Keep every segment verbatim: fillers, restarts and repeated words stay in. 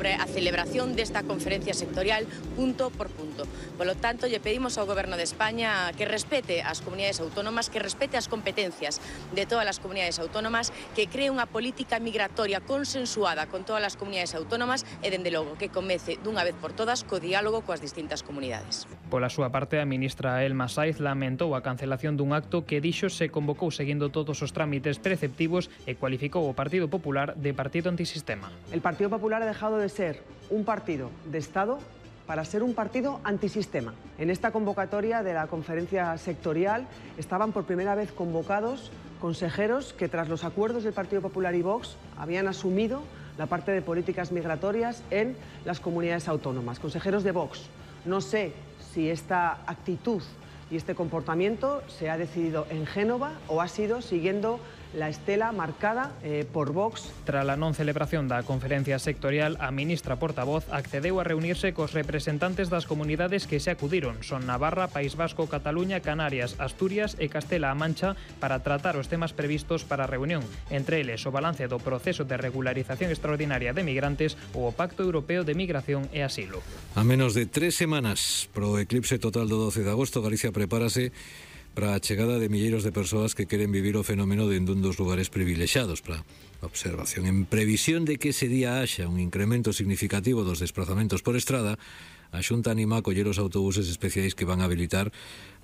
sobre a celebración desta conferencia sectorial punto por punto. Polo tanto, lle pedimos ao Goberno de España que respete as comunidades autónomas, que respete as competencias de todas as comunidades autónomas, que cree unha política migratoria consensuada con todas as comunidades autónomas e, dende logo, que comece dunha vez por todas co diálogo coas distintas comunidades. Pola súa parte, a ministra Elma Saiz lamentou a cancelación dun acto que dixo se convocou seguindo todos os trámites preceptivos e cualificou o Partido Popular de partido antisistema. El Partido Popular ha dejado de ser un partido de Estado para ser un partido antisistema. En esta convocatoria de la conferencia sectorial estaban por primera vez convocados consejeros que, tras los acuerdos del Partido Popular y Vox, habían asumido la parte de políticas migratorias en las comunidades autónomas. Consejeros de Vox. No sé si esta actitud y este comportamiento se ha decidido en Génova o ha sido siguiendo la estela marcada eh, por Vox. Tras a non celebración da conferencia sectorial, a ministra portavoz accedeu a reunirse cos representantes das comunidades que se acudiron. Son Navarra, País Vasco, Cataluña, Canarias, Asturias e Castela-A Mancha para tratar os temas previstos para a reunión. Entre eles, o balance do proceso de regularización extraordinaria de migrantes ou o Pacto Europeo de Migración e Asilo. A menos de tres semanas pro eclipse total do doce de agosto, Galicia prepárase para a chegada de milleiros de persoas que queren vivir o fenómeno dende un dos lugares privilexiados para a observación. En previsión de que ese día haxa un incremento significativo dos desplazamentos por estrada, a Xunta anima a coller os autobuses especiais que van a habilitar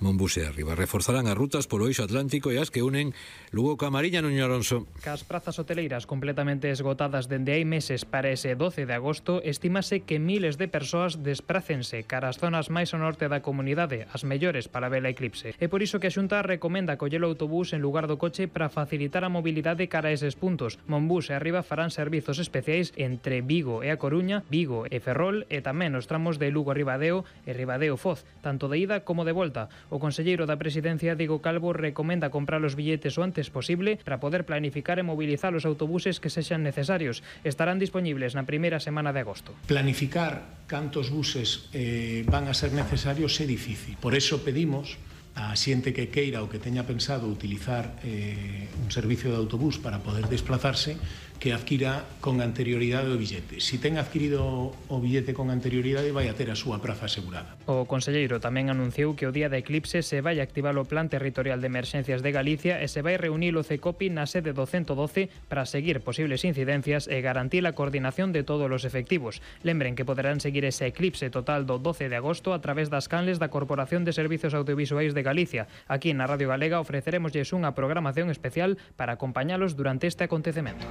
Monbus e Arriba. Reforzarán as rutas polo eixo atlántico e as que unen Lugo ca Mariña, Nuño Alonso. Cas prazas hoteleiras completamente esgotadas dende hai meses para ese doce de agosto, estimase que miles de persoas desprácense cara as zonas máis ao norte da comunidade, as mellores para ver a eclipse. É por iso que a Xunta recomenda coller o autobús en lugar do coche para facilitar a mobilidade cara a eses puntos. Monbus e Arriba farán servizos especiais entre Vigo e A Coruña, Vigo e Ferrol e tamén os tramos de Lugo Ribadeo e Ribadeo Foz, tanto de ida como de volta. O conselleiro da Presidencia, Diego Calvo, recomenda comprar os billetes o antes posible para poder planificar e mobilizar os autobuses que sexan necesarios. Estarán disponibles na primeira semana de agosto. Planificar cantos buses eh, van a ser necesarios é difícil. Por eso pedimos a xente que queira ou que teña pensado utilizar eh, un servicio de autobús para poder desplazarse, que adquira con anterioridade o billete. Si ten adquirido o billete con anterioridade, vai a ter a súa praza asegurada. O conselleiro tamén anunciou que o día de eclipse se vai activar o Plan Territorial de Emerxencias de Galicia e se vai reunir o CECOPI na sede do ciento doce para seguir posibles incidencias e garantir a coordinación de todos os efectivos. Lembren que poderán seguir ese eclipse total do doce de agosto a través das canles da Corporación de Servizos Audiovisuais de Galicia. Aquí na Radio Galega ofreceremosles unha programación especial para acompañalos durante este acontecemento.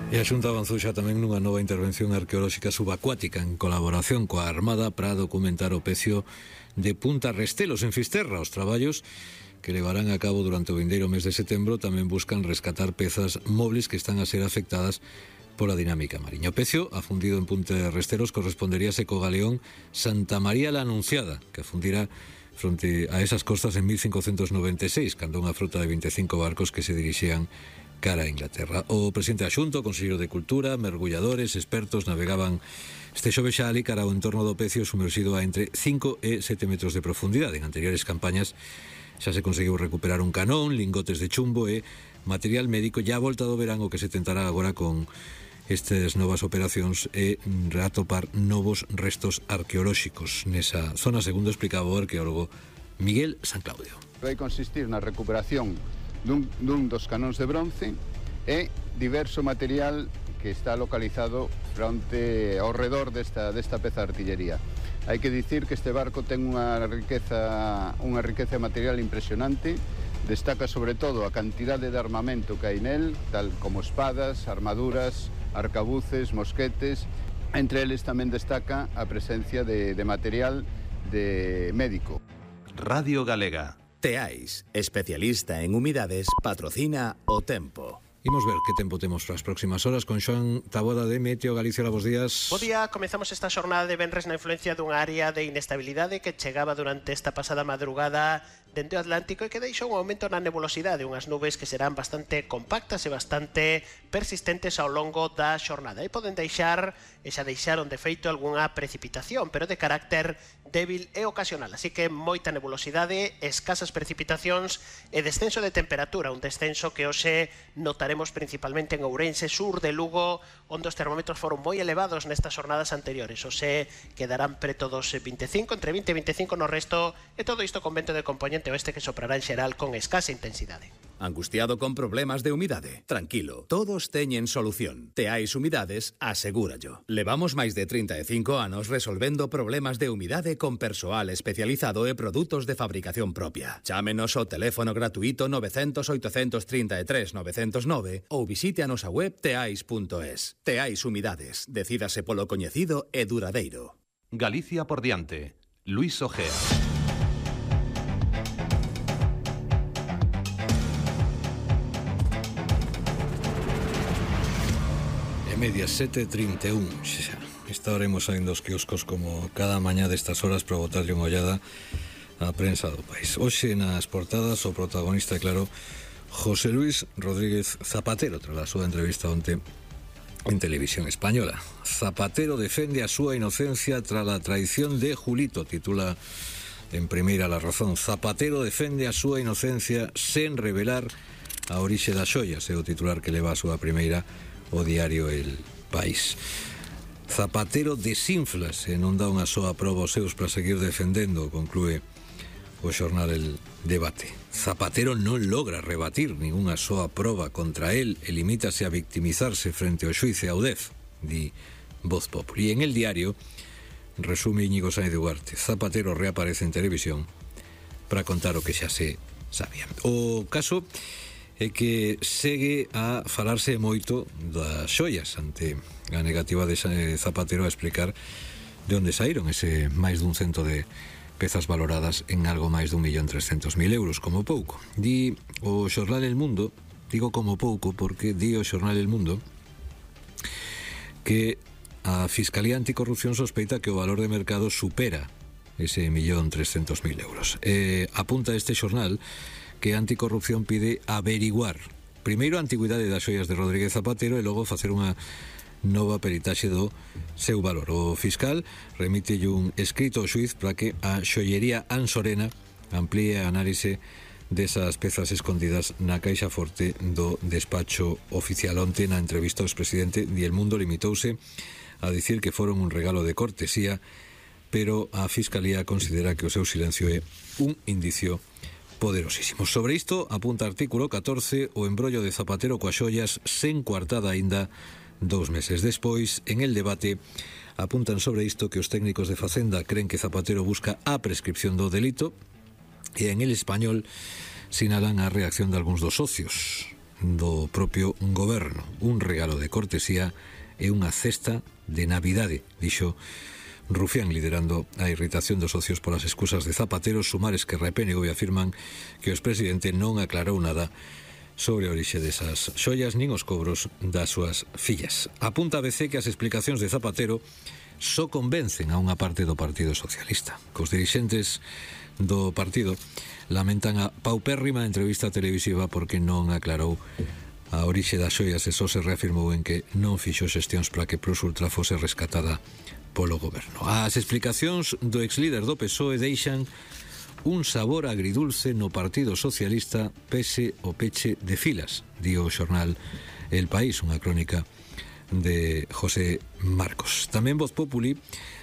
E a Xunta avanzou xa tamén nunha nova intervención arqueolóxica subacuática en colaboración coa Armada para documentar o pecio de Punta Restelos en Fisterra. Os traballos que levarán a cabo durante o vindeiro mes de setembro tamén buscan rescatar pezas móviles que están a ser afectadas pola dinámica mariña. O pecio afundido en Punta Restelos corresponderíase co galeón Santa María la Anunciada, que afundira fronte a esas costas en mil cincocentos noventa e seis, cando unha frota de veinticinco barcos que se dirixían cara a Inglaterra. O presidente da Xunta, o conselleiro de Cultura, mergulladores, expertos navegaban este xoves xa ali cara ao entorno do pecio sumerxido a entre cinco e sete metros de profundidade. En anteriores campañas xa se conseguiu recuperar un canón, lingotes de chumbo e material médico. Ya a volta do verán o que se tentará agora con estas novas operacións é atopar novos restos arqueolóxicos nesa zona, segundo explicaba o arqueólogo Miguel San Claudio. Vai consistir na recuperación dun, dun dos canóns de bronce e diverso material que está localizado fronte ao redor desta, desta peza de artillería. Hai que dicir que este barco ten unha riqueza, unha riqueza material impresionante. Destaca sobre todo a cantidade de armamento que hai nel, tal como espadas, armaduras, arcabuces, mosquetes. Entre eles tamén destaca a presencia de, de material de médico. Radio Galega. Teais, especialista en humidades, patrocina O Tempo. Imos ver que tempo temos para as próximas horas con Xoán Taboada de Meteo Galicia. Bos días. Bo día, comezamos esta xornada de venres na influencia dunha área de inestabilidade que chegaba durante esta pasada madrugada dende o Atlántico e que deixou un aumento na nebulosidade, unhas nubes que serán bastante compactas e bastante persistentes ao longo da xornada. E poden deixar, e xa deixaron de feito algunha precipitación, pero de carácter débil e ocasional, así que moita nebulosidade, escasas precipitacións e descenso de temperatura, un descenso que hoxe notaremos centraremos principalmente en Ourense, sur de Lugo, onde os termómetros foron moi elevados nestas jornadas anteriores. Ose quedarán preto dos vinte e cinco, entre vinte e veinticinco no resto, e todo isto con vento de componente oeste que soprará en xeral con escasa intensidade. Angustiado con problemas de humidade? Tranquilo, todos teñen solución. Teais Humidades asegúrallo. Levamos máis de trinta e cinco anos resolvendo problemas de humidade con persoal especializado e produtos de fabricación propia. Chámenos ao teléfono gratuito nove cero cero, oito tres tres, nove cero nove ou visite a nosa web teais punto es. Teais Humidades. Decídase polo coñecido e duradeiro. Galicia por diante. Luis Ojea. Media sete e trinta e un. Estaremos saindo os quioscos como cada mañá destas horas para botarlle unha ollada á prensa do país. Hoxe nas portadas o protagonista, claro, José Luis Rodríguez Zapatero, tras a súa entrevista onte en Televisión Española. Zapatero defende a súa inocencia tras a traición de Julito, titula en primeira La Razón. Zapatero defende a súa inocencia sen revelar a orixe das xoias, é o titular que leva a súa primeira o diario El País. Zapatero desinflase, non dá unha soa proba aos seus para seguir defendendo, conclúe o xornal El Debate. Zapatero non logra rebatir ningunha soa proba contra él e limítase a victimizarse frente ao xuiz e ao D E F, di Voz Populi. E en El Diario resume Íñigo Sáenz de Ugarte. Zapatero reaparece en televisión para contar o que xa se sabía. O caso é que segue a falarse moito das xoias ante a negativa de Zapatero a explicar de onde saíron ese máis dun cento de pezas valoradas en algo máis dun millón trescentos mil euros, como pouco. Di o xornal El Mundo, digo como pouco porque di o xornal El Mundo que a Fiscalía Anticorrupción sospeita que o valor de mercado supera ese millón trescentos mil euros. E apunta este xornal que Anticorrupción pide averiguar primeiro a antigüidade das xoias de Rodríguez Zapatero e logo facer unha nova peritaxe do seu valor. O fiscal remite un escrito ao xuiz para que a xoiería Ansorena amplíe a análise desas pezas escondidas na caixa forte do despacho oficial. Onte, na entrevista ao expresidente di El Mundo, limitouse a dicir que foron un regalo de cortesía, pero a Fiscalía considera que o seu silencio é un indicio poderosísimo. Sobre isto, apunta artículo catorce, o embrollo de Zapatero coas xoias sen coartada aínda dous meses despois. En El Debate apuntan sobre isto que os técnicos de Facenda creen que Zapatero busca a prescripción do delito, e en El Español sinalan a reacción de algúns dos socios do propio goberno. Un regalo de cortesía e unha cesta de Navidade, dixo Rufián, liderando a irritación dos socios polas excusas de Zapatero. Sumares que repénego e afirman que o expresidente non aclarou nada sobre a orixe desas xoias nin os cobros das súas fillas. Apunta a B C que as explicacións de Zapatero só convencen a unha parte do Partido Socialista. Cos dirixentes do partido lamentan a paupérrima entrevista televisiva porque non aclarou a orixe das xoias e só se reafirmou en que non fixo xestións para que Plus Ultra fose rescatada polo goberno. As explicacións do exlíder do P S O E deixan un sabor agridulce no Partido Socialista pese o peche de filas, di o xornal El País, unha crónica de José Marcos. Tamén Voz Populi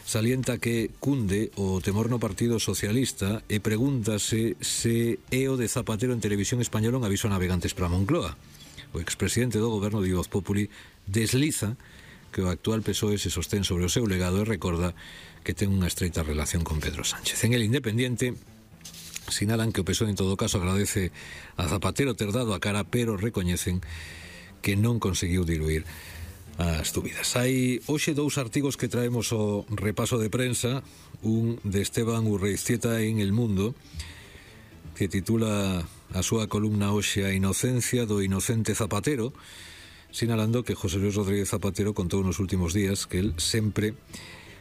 salienta que cunde o temor no Partido Socialista e pregúntase se é o de Zapatero en Televisión Española un aviso a navegantes para Moncloa. O expresidente do goberno, di Voz Populi, desliza que o actual P S O E se sostén sobre o seu legado e recorda que ten unha estreita relación con Pedro Sánchez. En El Independiente sinalan que o P S O E en todo caso agradece a Zapatero ter dado a cara, pero recoñecen que non conseguiu diluir as dúbidas. Hai hoxe dous artigos que traemos o repaso de prensa, un de Esteban Urreiztieta en El Mundo, que titula a súa columna hoxe A inocencia do inocente Zapatero, sinalando que José Luis Rodríguez Zapatero contou nos últimos días que el sempre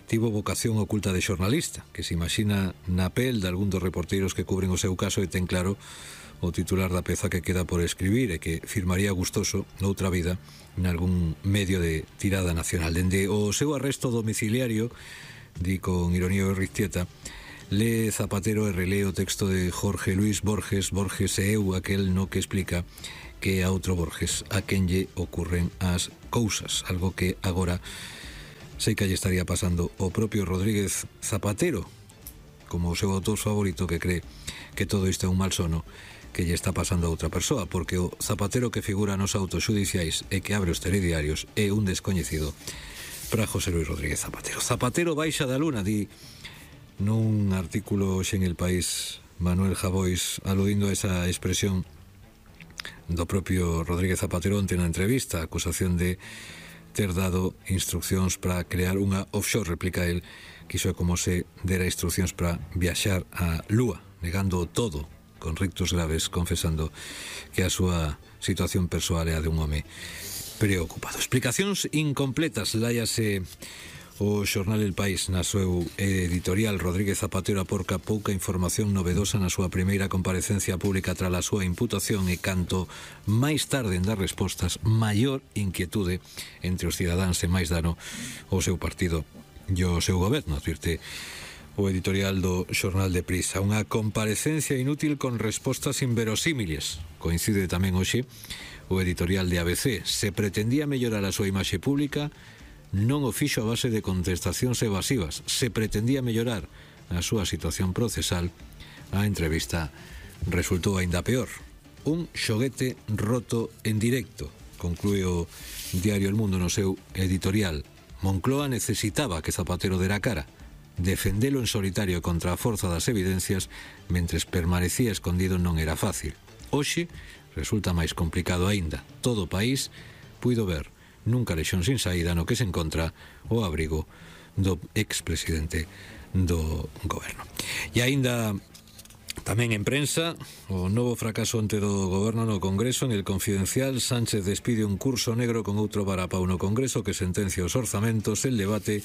tivo vocación oculta de xornalista, que se imagina na pel de algún dos reporteiros que cubren o seu caso e ten claro o titular da peza que queda por escribir e que firmaría gustoso noutra vida nalgún medio de tirada nacional. Dende o seu arresto domiciliario, di con ironía Urreiztieta, lee Zapatero e relee o texto de Jorge Luis Borges, Borges e eu, aquel no que explica que a outro Borges a quen lle ocurren as cousas, algo que agora sei que lle estaría pasando o propio Rodríguez Zapatero, como o seu autor favorito, que cree que todo isto é un mal sono que lle está pasando a outra persoa, porque o Zapatero que figura nos autos xudiciais e que abre os telediarios é un descoñecido para José Luis Rodríguez Zapatero. Zapatero baixa da luna, di nun artículo hoxe en El País Manuel Javois, aludindo a esa expresión do propio Rodríguez Zapatero onte na entrevista, a acusación de ter dado instruccións para crear unha offshore, replica el, que iso é como se dera instruccións para viaxar a Lúa, negando todo, con rictos graves, confesando que a súa situación persoal é a de un home preocupado. Explicacións incompletas, láiase o xornal El País na seu editorial. Rodríguez Zapatero aporca pouca información novedosa na súa primeira comparecencia pública tras a súa imputación, e canto máis tarde en dar respostas, maior inquietude entre os cidadáns e máis dano ao seu partido e ao seu goberno, advirte o editorial do xornal de Prisa. Unha comparecencia inútil con respostas inverosímiles. Coincide tamén hoxe o editorial de A B C. Se pretendía mellorar a súa imaxe pública, non o fixo a base de contestacións evasivas. Se pretendía mellorar a súa situación procesal, a entrevista resultou aínda peor. Un xoguete roto en directo, conclúe o diario El Mundo no seu editorial. Moncloa necesitaba que Zapatero dera cara, defendelo en solitario contra a forza das evidencias mentres permanecía escondido non era fácil. Hoxe resulta máis complicado aínda. Todo o país puido ver nun calexón sin saída no que se encontra o abrigo do expresidente do goberno. E aínda tamén en prensa, o novo fracaso onte do goberno no Congreso. En El Confidencial, Sánchez despide un curso negro con outro varapau no Congreso que sentencia os orzamentos. El debate,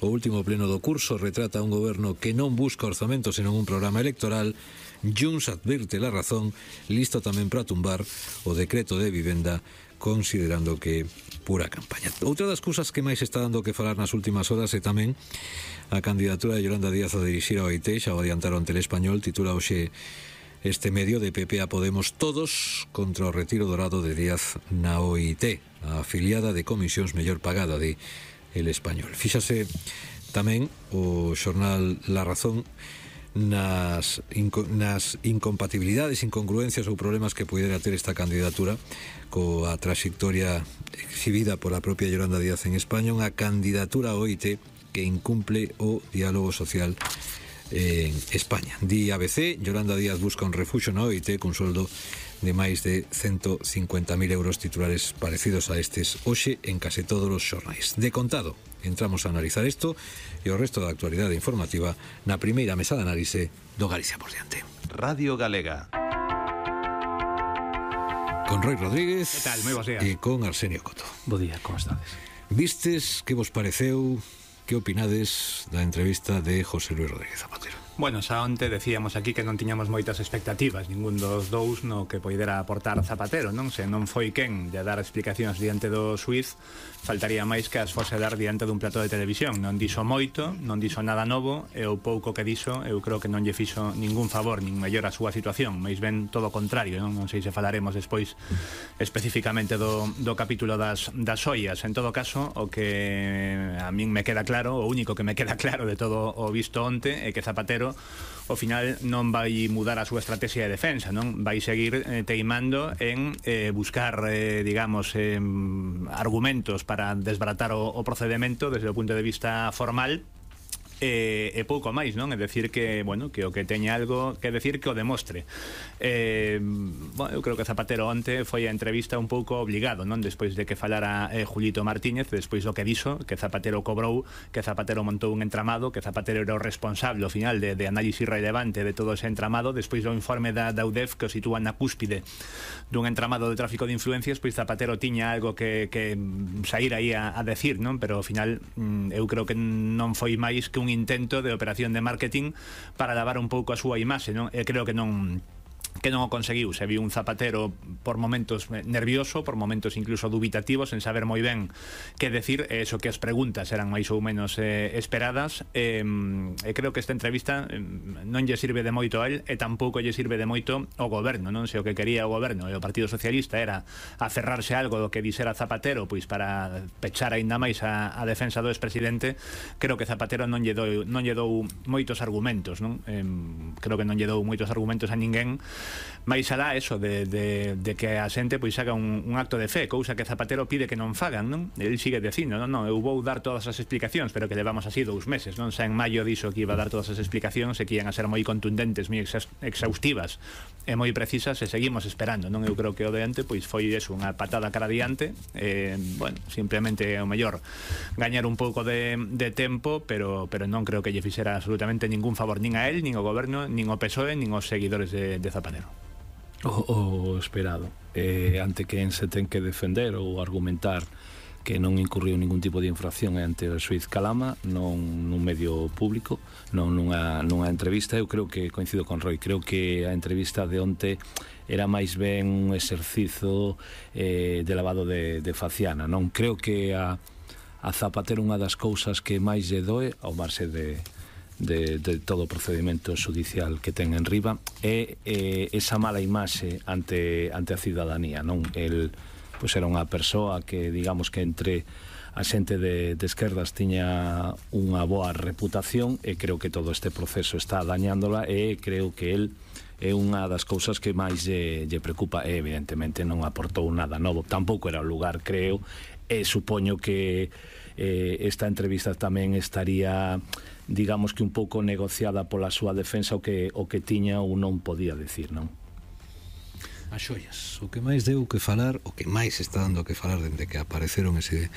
o último pleno do curso, retrata un goberno que non busca orzamentos senón un programa electoral. Junts advirte La Razón, listo tamén para tumbar o decreto de vivenda, considerando que pura campaña. Outra das cousas que máis está dando que falar nas últimas horas é tamén a candidatura de Yolanda Díaz a dirixir a O I T. Xa o adiantaron Telespañol, titula hoxe este medio: de P P a Podemos todos contra o retiro dorado de Díaz na O I T, a afiliada de comisións mellor pagada de El Español. Fíxase tamén o xornal La Razón nas, inco, nas incompatibilidades, incongruencias ou problemas que pudera ter esta candidatura coa trayectoria exhibida pola propia Yolanda Díaz en España, unha candidatura ao O I T que incumple o diálogo social en España. Di A B C, Yolanda Díaz busca un refuxo na O I T cun soldo de máis de ciento cincuenta mil euros, titulares parecidos a estes hoxe en case todos os xornais. De contado, entramos a analizar isto e o resto da actualidade informativa na primeira mesa de análise do Galicia por diante. Radio Galega. Con Roy Rodríguez. Que tal? Moi bons días. E con Arsenio Coto. Bo día, como estades? Vistes, que vos pareceu, que opinades da entrevista de José Luis Rodríguez Zapatero? Bueno, xa onte decíamos aquí que non tiñamos moitas expectativas, ningún dos dous no que poidera aportar Zapatero, non? Se non foi quen de dar explicacións diante do xuiz, faltaría máis que as fose dar diante dun plató de televisión. Non dixo moito, non dixo nada novo, e o pouco que dixo, eu creo que non lle fixo ningún favor, nin mellor a súa situación, máis ben todo o contrario, non? Non sei se falaremos despois especificamente do, do capítulo das, das ollas. En todo caso, o que a min me queda claro, o único que me queda claro de todo o visto onte, é que Zapatero ao final non vai mudar a súa estrategia de defensa, non? Vai seguir eh, teimando en eh, buscar, eh, digamos, eh, argumentos para desbaratar o, o procedemento desde o punto de vista formal. E, e pouco máis, non? É decir que, bueno, que o que teña algo que decir que o demostre. Eh, bueno, eu creo que Zapatero onte foi a entrevista un pouco obligado, non? Despois de que falara eh, Julito Martínez, despois do que dixo, que Zapatero cobrou, que Zapatero montou un entramado, que Zapatero era o responsable ao final de, de análisis relevante de todo ese entramado, despois do informe da, da U D E F que o sitúa na cúspide dun entramado de tráfico de influencias, pois Zapatero tiña algo que, que sair aí a, a decir, non? Pero ao final eu creo que non foi máis que un intento de operación de marketing para lavar un pouco a súa imaxe, non? E creo que non que non o conseguiu. Se viu un Zapatero por momentos nervioso, por momentos incluso dubitativos, sen saber moi ben que decir, e eso que as preguntas eran máis ou menos eh, esperadas. E eh, creo que esta entrevista eh, non lle sirve de moito a él e tampouco lle sirve de moito ao goberno, non? Se o que quería o goberno e o Partido Socialista era aferrarse a algo do que dixera Zapatero, pois para pechar aínda máis a, a defensa do expresidente, creo que Zapatero non lle dou, non lle dou moitos argumentos, non? Eh, creo que non lle dou moitos argumentos a ninguén, máis alá eso de, de, de que a xente pois haga un, un acto de fe, cousa que Zapatero pide que non fagan, non? El sigue dicindo, non, non, eu vou dar todas as explicacións, pero que levamos así dous meses, non? Xa en maio dixo que iba a dar todas as explicacións e que iban a ser moi contundentes, moi exhaustivas e moi precisas, e seguimos esperando, non? Eu creo que o de ante pois foi eso, unha patada cara adiante, eh, bueno, simplemente o mellor gañar un pouco de, de tempo, pero, pero non creo que lle fixera absolutamente ningún favor nin a él, nin ao goberno, nin ao P S O E, nin aos seguidores de, de Zapatero. O, o esperado eh, ante quen se ten que defender ou argumentar que non incurriu ningún tipo de infracción ante o xuiz Calama, non nun medio público, non nunha, nunha entrevista. Eu creo que coincido con Roy, creo que a entrevista de onte era máis ben un exercizo eh, de lavado de, de faciana, non? Creo que a, a Zapatero unha das cousas que máis lle doe ao marxe de De, de todo o procedimento judicial que ten en riba é eh, esa mala imaxe ante, ante a ciudadanía, non? El, pois era unha persoa que, digamos que entre a xente de, de esquerdas tiña unha boa reputación, e creo que todo este proceso está dañándola, e creo que el é unha das cousas que máis lle, lle preocupa, e evidentemente non aportou nada novo, tampouco era o lugar, creo, e supoño que eh, esta entrevista tamén estaría, digamos que un pouco negociada pola súa defensa, o que, o que tiña ou non podía decir, non? As xoias, o que máis deu que falar, o que máis está dando que falar dende que apareceron ese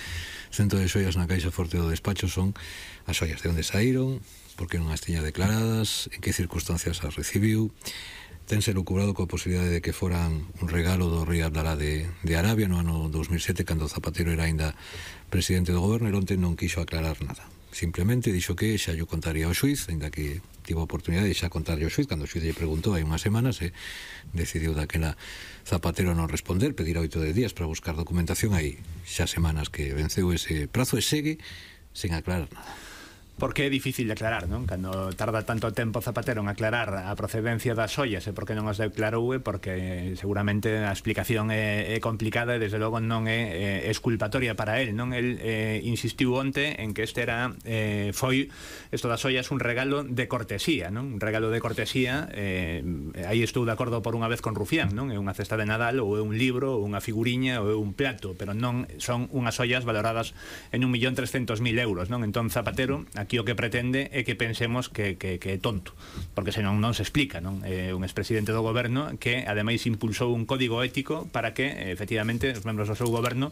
centro de xoias na caixa forte do despacho, son as xoias, de onde saíron, por que non as tiña declaradas, en que circunstancias as recibiu. Tense lucubrado coa posibilidade de que foran un regalo do rei Abdalá de, de Arabia no ano dos mil sete, cando Zapatero era ainda presidente do goberno, e onte non quixo aclarar nada. Simplemente dixo que xa yo contaría ao xuiz, ainda que tivo a oportunidade de xa contarlle ao xuiz, cando o xuiz lle preguntou hai unhas semanas, e decidiu daquela Zapatero non responder, pedir oito de días para buscar documentación. Hai xa semanas que venceu ese prazo e segue sen aclarar nada. Porque é difícil de aclarar, non? Cando tarda tanto tempo Zapatero en aclarar a procedencia das xoias e por que non as declarou, é porque seguramente a explicación é, é complicada e desde logo non é, é exculpatoria para él, non? El eh, insistiu onte en que este era eh, foi, isto das xoias, un regalo de cortesía, non? Un regalo de cortesía, eh, aí estou de acordo por unha vez con Rufián, non? É unha cesta de Nadal, ou é un libro, ou unha figuriña, ou é un plato, pero non son unhas xoias valoradas en un millón trescentos mil euros, non? Entón Zapatero aquí o que pretende é que pensemos que, que, que é tonto, porque senón non se explica, non? É un expresidente do goberno que ademais impulsou un código ético para que efectivamente os membros do seu goberno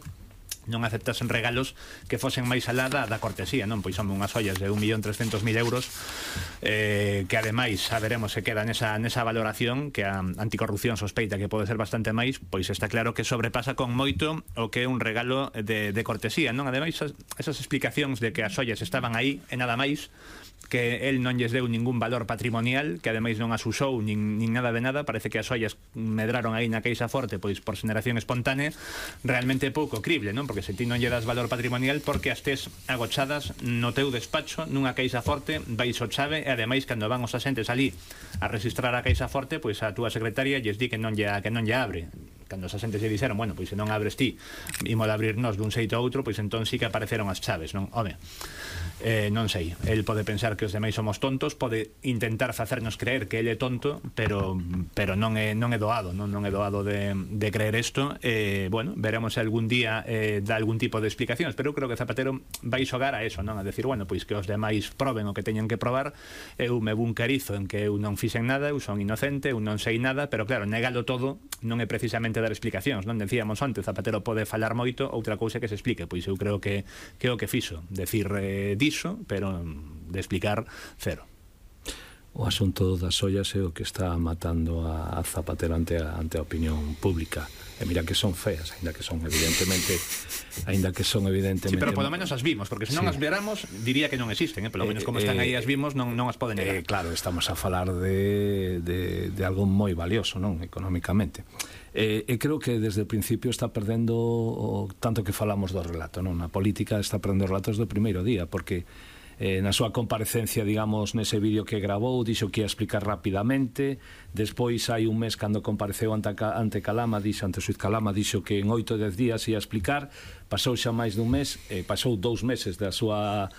non aceptasen regalos que fosen máis alá da, da cortesía, non? Pois son unhas ollas de un millón trescentos mil euros, eh, que ademais saberemos se queda nesa, nesa valoración, que a anticorrupción sospeita que pode ser bastante máis, pois está claro que sobrepasa con moito o que é un regalo de, de cortesía, non? Ademais, esas, esas explicacións de que as ollas estaban aí e nada máis, que el non lles deu ningún valor patrimonial, que ademais non as usou nin, nin nada de nada, parece que as ollas medraron aí na caixa forte pois por xeración espontánea, realmente pouco crible, non? Porque se ti non lle das valor patrimonial, porque as tes agochadas no teu despacho nunha caixa forte, vais o chave, e ademais cando van os asentes ali a registrar a caixa forte, pois a túa secretaria lles di que non lle, que non lle abre. Cando os asentes lle dixeron, bueno, pois se non abres ti, imos a abrirnos dun xeito a outro, pois entón sí que apareceron as chaves, non? Home, eh, non sei, el pode pensar que os demais somos tontos, pode intentar facernos creer que el é tonto, pero pero non é non é doado, non non é doado de, de creer isto. Eh, bueno, veremos se algún día eh, dá algún tipo de explicacións, pero eu creo que Zapatero vai xogar a eso, non? A decir, bueno, pois que os demais proben o que teñen que probar, eu me buncarizo en que eu non fixen nada, eu son inocente, eu non sei nada, pero claro, negalo todo non é precisamente dar explicacións, non? Decíamos antes, Zapatero pode falar moito, outra cousa que se explique, pois eu creo que que o que fixo, decir eh, diso, pero de explicar cero. o asunto das ollas é o que está matando a, a Zapatero ante a, ante a opinión pública. E mira que son feas, aínda que son evidentemente aínda que son evidentemente... Sí, pero polo menos as vimos, porque se non sí. as veramos diría que non existen, eh? Polo menos como están aí as vimos non, non as poden negar. Eh, claro, estamos a falar de, de, de algo moi valioso, non? Económicamente. E eh, eh, creo que desde o principio está perdendo o tanto que falamos do relato, non? A política está perdendo relatos do primeiro día, porque eh, na súa comparecencia, digamos, nese vídeo que gravou, dixo que ia explicar rapidamente. Despois hai un mes cando compareceu ante, ante Calama, dixo, ante o xuiz Calama, dixo que en oito, dez días ia explicar. Pasou xa máis dun mes, eh, pasou dous meses da súa